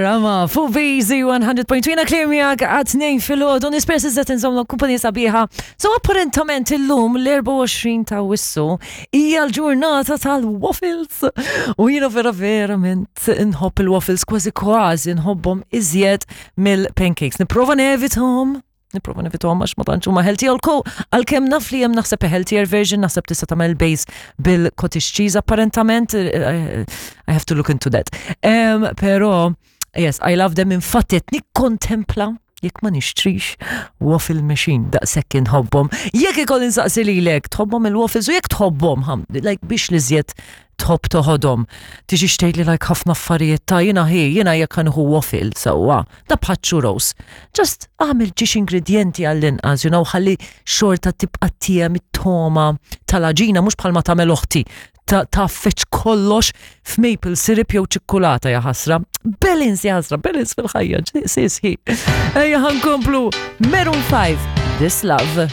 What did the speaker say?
Rama, fuq VZ 100.2 jiena Claire miegħek għat-tnejn filgħodu nispera se żed inżommlok kumpanija sabiħa. So apparentament illum l-24 ta' Awwissu hija l-ġurnata tal-waffles. U jiena vera verament nħobb il-waffles kważi kważi nħobbhom iżjed mill-pancakes. Nipprova nevithom Niprofa nevithom għax ma tantx huma healthy għalko għalkemm naf li hemm naħseb a healthier version naħseb tista' tagħmel base bil-cottage cheese apparentament eh, eh, I have to look into that. Um, pero yes, I love them infatti qed nikkontempla jekk ma nixtrix waffle machine daqshekk inħobbhom. Jekk ikolli nsaqsi lilek tħobbhom il-waffles u jekk tħobbhom like biex li żjed tħobb toħodhom. Tiġi xtejt li like ħafna affarijiet ta' jiena hi, jiena jekk ħanħu waffle sewwa, da bħal churros. Just għamil ġiex ingredjenti għall-inqas, you know, ħalli xorta tibqa' tiegħem it-toma tal-aġina mhux bħalma tagħmel oħti ta' tgħaffeġ kollox f'maple syrup jew ċikkulata ja ħasra. Balance ja ħasra, balance fil-ħajja, sis hi. Ejja ħankomplu Maroon 5, This Love.